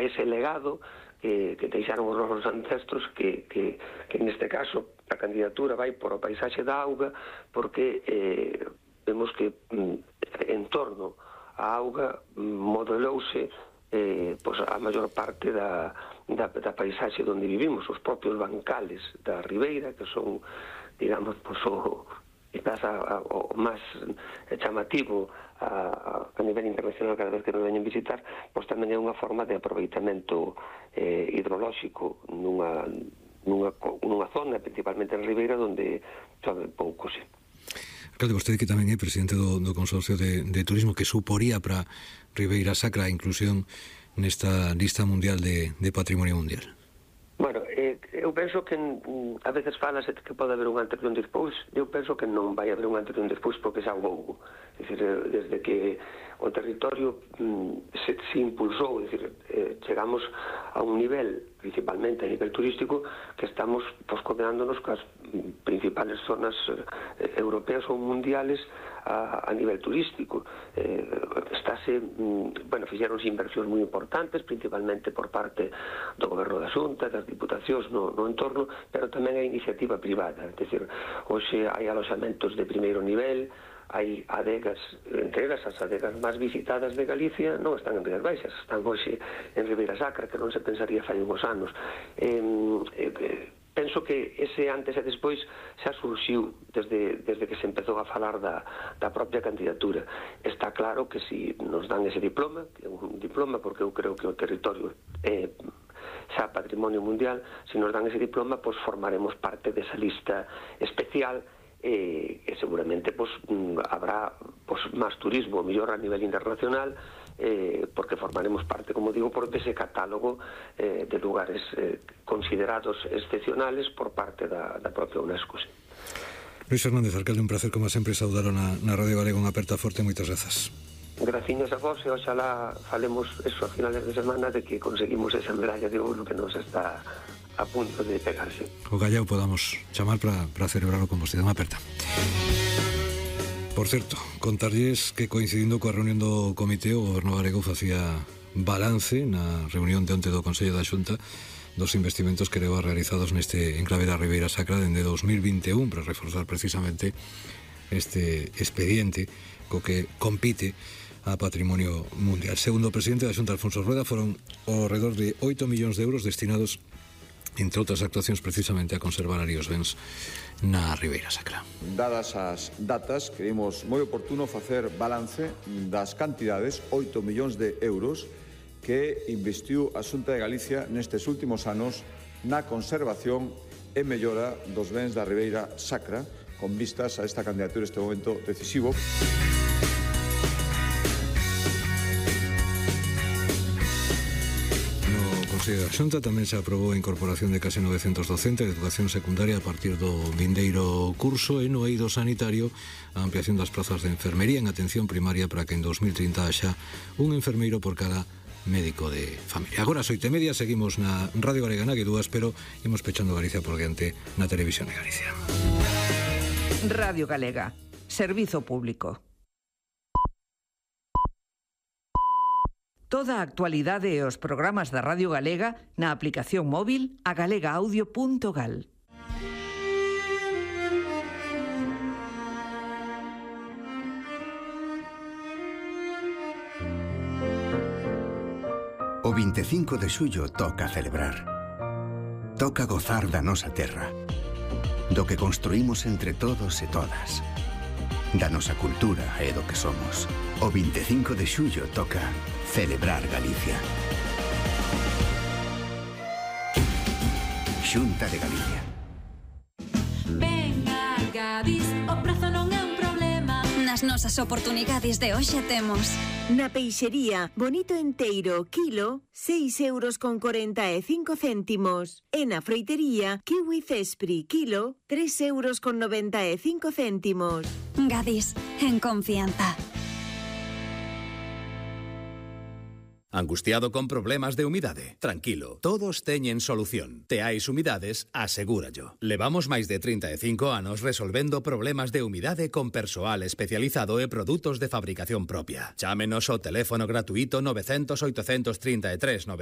ese legado que deixaron os nosos ancestros, que neste caso a candidatura vai por o paisaxe da auga, porque vemos que en torno á auga modelouse a maior parte da paisaxe onde vivimos, os propios bancales da ribeira, que son, digamos, quizás o máis chamativo a nivel internacional cada vez que nos veñen visitar, pois tamén é unha forma de aproveitamento hidrolóxico nunha zona, principalmente en ribeira, onde chove pouco, sí. Alcalde, vostede que tamén é presidente do Consorcio de Turismo, que suporía para Ribeira Sacra a inclusión nesta lista mundial de Patrimonio Mundial. Bueno, eu penso que a veces falase que pode haber un antes e un despois. Eu penso que non vai haber un antes e un despois, porque xa houve. É dicir, desde que o territorio se impulsou, é dicir, chegamos a un nivel, principalmente a nivel turístico, que estamos coordinándonos cas principales zonas europeas ou mundiales a nivel turístico. Fixeronse inversións moi importantes, principalmente por parte do Goberno da Xunta, das Diputacións no entorno, pero tamén a iniciativa privada. É dicir, hoxe hai aloxamentos de primeiro nivel, hai adegas, entre elas as adegas máis visitadas de Galicia non están en Rías Baixas, están hoxe en Ribeira Sacra, que non se pensaría fai uns anos. Penso que ese antes e despois xa surxiu desde que se empezou a falar da propia candidatura. Está claro que se nos dan ese diploma, que é un diploma porque eu creo que o territorio é xa patrimonio mundial, se nos dan ese diploma, pois formaremos parte desa lista especial e seguramente habrá máis turismo, mellor a nivel internacional, porque formaremos parte, como digo, por ese catálogo de lugares considerados excepcionales por parte da propia UNESCO. Sí. Luis Fernández, alcalde, un placer como sempre saudaro na Radio Galega, unha aperta forte, moitas grazas. Graciñas a vos e oxalá falemos eso a finales de semana de que conseguimos esa medalla de ouro que nos está a punto de pegarse. O Gallao podamos chamar para celebrarlo con vostede, unha aperta. Por certo, contarlles que coincidindo coa reunión do Comité, o Goberno galego facía balance na reunión de onte do Consello da Xunta dos investimentos que leva realizados neste enclave da Ribeira Sacra dende 2021 para reforzar precisamente este expediente co que compite a Patrimonio Mundial. Segundo o presidente da Xunta, Alfonso Rueda, foron ao redor de 8 millóns de euros destinados, entre outras actuacións, precisamente a conservar ali os bens na Ribeira Sacra. Dadas as datas, creemos moi oportuno facer balance das cantidades, 8 millóns de euros, que investiu a Xunta de Galicia nestes últimos anos na conservación e mellora dos bens da Ribeira Sacra, con vistas a esta candidatura este momento decisivo. A Xunta tamén se aprobou a incorporación de case 900 docentes de educación secundaria a partir do vindeiro curso e no eido sanitario a ampliación das plazas de enfermería en atención primaria para que en 2030 haxa un enfermeiro por cada médico de familia. Agora, 8:30, seguimos na Radio Galega na que dúas, pero imos pechando Galicia por diante na Televisión de Galicia. Radio Galega, servizo público. Toda a actualidade e os programas da Radio Galega na aplicación móvil a galegaaudio.gal. O 25 de xullo toca celebrar. Toca gozar da nosa terra, do que construímos entre todos e todas, da nosa cultura e do que somos. O 25 de xullo toca celebrar Galicia. Xunta de Galicia. Ven a Gadis, o prazo non é un problema. Nas nosas oportunidades de hoxe temos na peixería, bonito enteiro, kilo, 6,45 €. E na froitería, kiwi cespri, kilo, 3,95 €. Gadis, en confianza. Angustiado con problemas de humidade? Tranquilo, todos teñen solución. Teais Humidades asegúrallo. Levamos máis de 35 anos resolvendo problemas de humidade con persoal especializado e produtos de fabricación propia. Chámenos ao teléfono gratuito 900 833